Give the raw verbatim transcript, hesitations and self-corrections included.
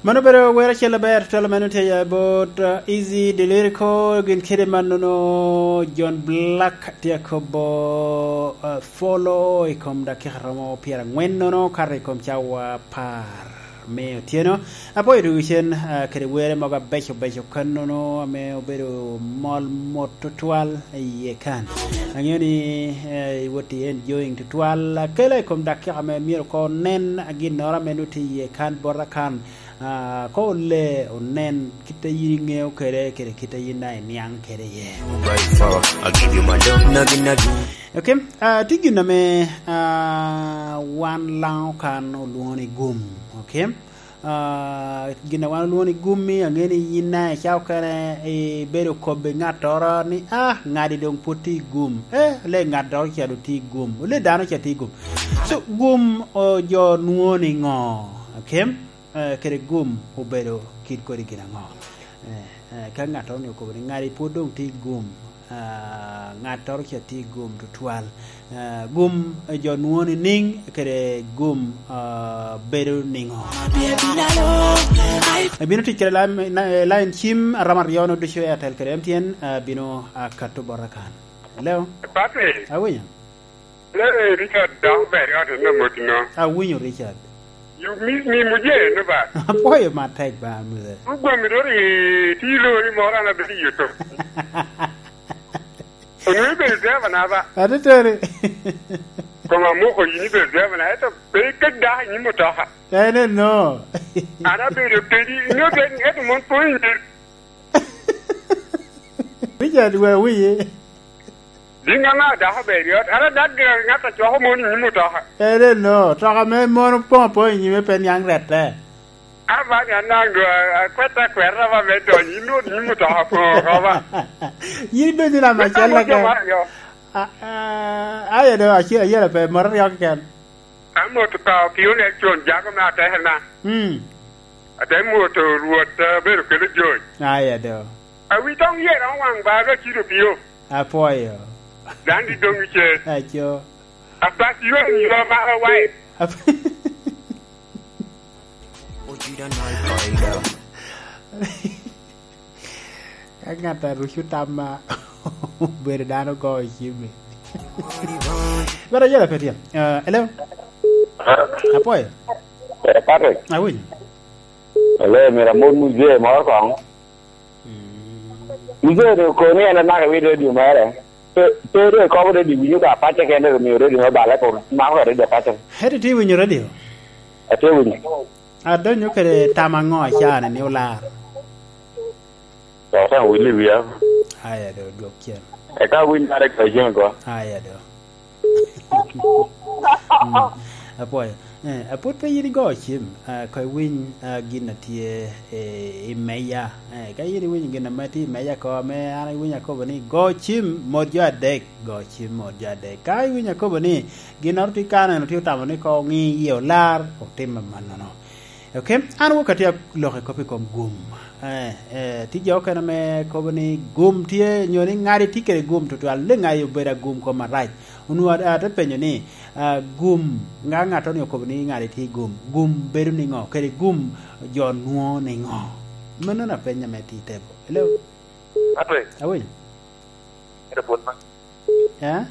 Mano obedo wer acel aber tutwal ame nongo tye ya bot, uh, Easy Delirico, gin kede mannono John Black tye akobo, uh, follow i kom dakika romo pyerangwen nono, kato i kom cawa apar me otyeno. Apwoyo dogicen, uh, kede were mogo abeco beco kannono ame obedo mol mot tutwal i iye kan. Aŋeo ni, eh, iwot i enjoying tutwal. Akela i kom dakika ame myero ko nen ginnoro ame nut i iye kan, bota kan. Ah, ko ole onen kit a yin iŋeo kede, kede kit a yin daŋ iniaŋ kede iye. Okay, ah, tye gin ame, ah, wan Laŋo kan olwoŋo ni gum, okay? Ah, gin a wan olwoŋo ni gum-mi, aŋeo ni yin daŋ i cawa okene ibedo kobbe ŋattoro ni, "Ah, ŋadi doŋ pwod tye i gum." Eh, le ŋattoro ca doŋ tye i gum. Le dano ca tye i gum. So, gum, oh, jo nwoŋo ni ŋo? Okay? Eh, kede gum obedo kit kodi gin aŋo? Eh, eh, ka ŋattoro ni okobo ni ŋadi pwod doŋ tye i gum, ah, ŋattoro ca tye i gum tutwal. Ah, gum, eh, jo nwoŋo ni niŋ kede gum, ah, bedo niŋo? Ebino tic kede line, na-, line cim aromo aryo no ducu, Airtel kede M T N, ah, bino, ah, kato bota kan. Hello? Patrick. Awinyo. Larry Richard dok ber i ot en amotino. Awinyo, Richard. You miss me mujee no ba? Apwoyo matek ba, muzee. Ugwami doro i ti lori moro an abedo i yoto. Onwero ibedo driver na ba? Ateteni. Koma moko yin ibedo driver na, eto pe ka dako i nyim motoka. En eno. An abedo kedi, ino kedi, eto mon pwony. Richard, we wiyi. Din ŋaŋa dako ber i ot? An adak gire ŋat a cwako mon i nyim otoka. En eno, otoka me mon opoŋ apoŋ i nyime pe niaŋ rette. Aba ni anaŋ do, a-, akwetta akweta ba me donyo, in wot i nyim otoka opoŋ oko ba. Yin ibedo nino ame acel keken. Amo jo maro yo. A, a, aye do, aci-, ayela pe, mot aryo keken. Amoto ka opio ne con jago me ateke na. Mm. Ate moto Rwot, eh, bedo kelo joc. Aya do. Awi tong yer on waŋ ba ga cido pio. Apwoyo. Dan di dong ice. Aco. Apak yuan yo mara wai. Ap- Ka ŋat a ruco tamma obedo dano ogo cimmi. But ayela pe tye. Uh, hello? Apwoyo? Eh, Patrick. Awinyo. Hello, mira mon muzee moro kong. Mm. Muzee do koni en anaka wi radio mere. Pe, pe do ikobo radio winyo ka pace kende, do miyo radio me bale ko mako ka radio pace. Hete tye winyo radio? Atye winyo. Adonyo kede tam aŋo acane ni olar? Dok daŋ wil i wia. Aya do, dwok cen. Eka winy mare ka jami go. Aya do. Mm. Apwoyo. Eh, apwod pe yin igo cim, ah, ka iwiny, ah, gin a tye, eh, i meja. Eh, ka yin iwinyo gin ame tye i meja ko, ame an iwinyo akobo ni, "Go cim, mot jo adek, go cim, mot jo adek." Ka iwinyo akobo ni, "Ginnoro tye kano, en otye otamo ni ko ŋi iye olar," otim amannono. Ok, an wok atye aloko kop i kom gum. Eh, eh, tye jo okene ame kobo ni gum tye, nyo ni ŋadi tye kede gum tutwal, ni ŋadi obedo agum kom arac. Onwoŋo at-, ate penyo ni, ah, gum, ŋa ŋattoni okobo ni ŋadi tye i gum, gum bedo niŋo, kede gum jo nwoŋo niŋo? Meno na peny ame tye i tebo. Hello? Ate. Awiny. Ate pwod ma. Eh?